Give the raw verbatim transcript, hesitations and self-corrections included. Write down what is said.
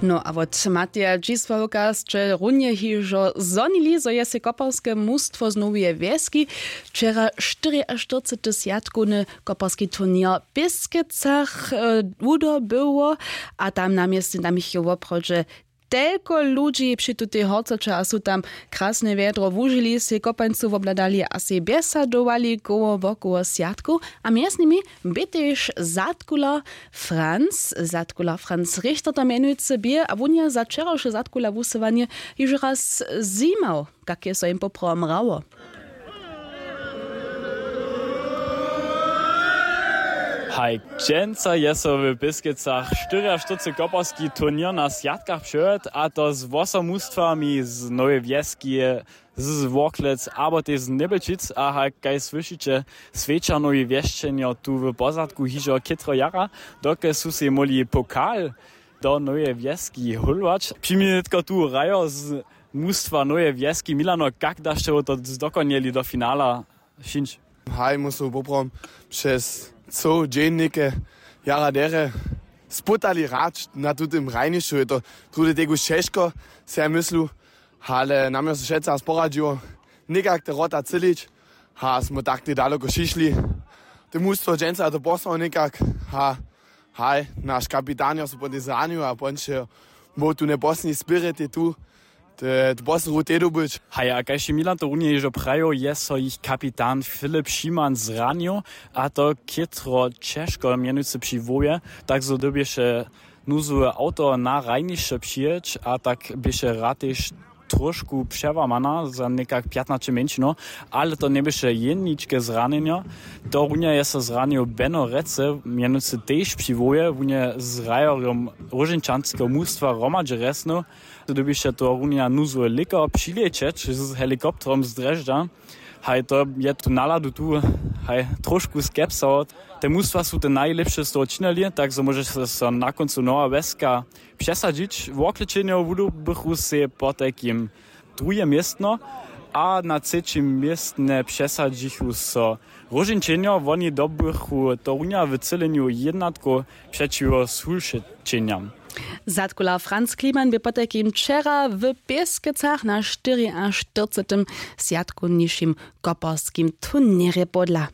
No a wot Mateja Dźisławka sće runje hižo zhonili, zo je sej koperske mustwo z noweje wjeski wčera štyriaštyrcety swjatkowny koperski turněr w Pěskecach wudobyło. A tam na městnje tam jich je woprawdźe telko ludźi při tutej horcoće a su tam krasne wjedro wužili, sej kopańcu wobhladali a sej bjesadowali koło wokoło swjatkow. A mjez nimi bě tež zadkuler franc zadkuler franc richter to mjenujcy bě a wón je za wčerawše zadkula wusyłanje hižo raz zjimał, kak je so jim poprawom hrało. Haj, dźensa je so w Pěskecach štyriaštyrcety koperski turněr na swjatkach přewjedł, a to z wosom mustwami z nowej wjeski, z Worklec abo tež z Njebelčic. A haj, kaž słyšiće, swjeća nowi wjesćenjo tu w pozadku hižo chětro jara, dokelž su sej móhli pokal do noweje wjeski hólować. Při mnje nětko tu hrajo z mustwa noweje wjeski. Milano, kak da sće wo to zdokonjeli do finala? Šinč. Haj, móhł su poprawom přez coł dźeń něke jara derje sputali hrać na tutym hrajnišću. Je to druhdy tegož ćežko, se ja myslu, ale nam je so wšetcy raz poradźiło někak te wrota třělić. A smy tak te daloko šišli. Te mustwo dźensa to postało někak. A haj, naš kapitan jo so potom zranił a ponče był tu njeposledni spirit je tu te poslednju te dobyć. Haj, a kaž je Milan to runje hižo prajił, je so jich kapitan Filip Šiman zranił, a to chětro ćežko, mjenujcy při hłowje, tak zo dyrbješe nuzowe awto na hrajnišće přijěć a tak běše rad tež tróšku přełamana za někak pjatnaće mjeńšinow. Ale to njeběše jeničke zranjenjo. To runje je so zranił Beno Recy, mjenujcy tež při hłowje, wón je z hrajerjom róžeńčanskeho mustwa hromadźe rjeznył. Dyrbješe to runja nuzowy lěkar přilěćeć z helikopterom z Drježdźa. Haj, to je tu naladu tu, haj, tróšku skepsa. Te mustwa su te najlěpše z toho činili, tak zo móže so na kóncu nowa wjeska přesadźić. Worklećenjo wudobychu sej potajkim druhe městno a na třećim městnje přesadźichu so róžeńčenjo. Woni dobychu to runja w třělenju jednatkow přećiwo sulšećenjam. Zadkular franc kliman bě potajkim wčera w pěskecach na štyriaštyrcetym swjatkownišim koperskim turněrje podla.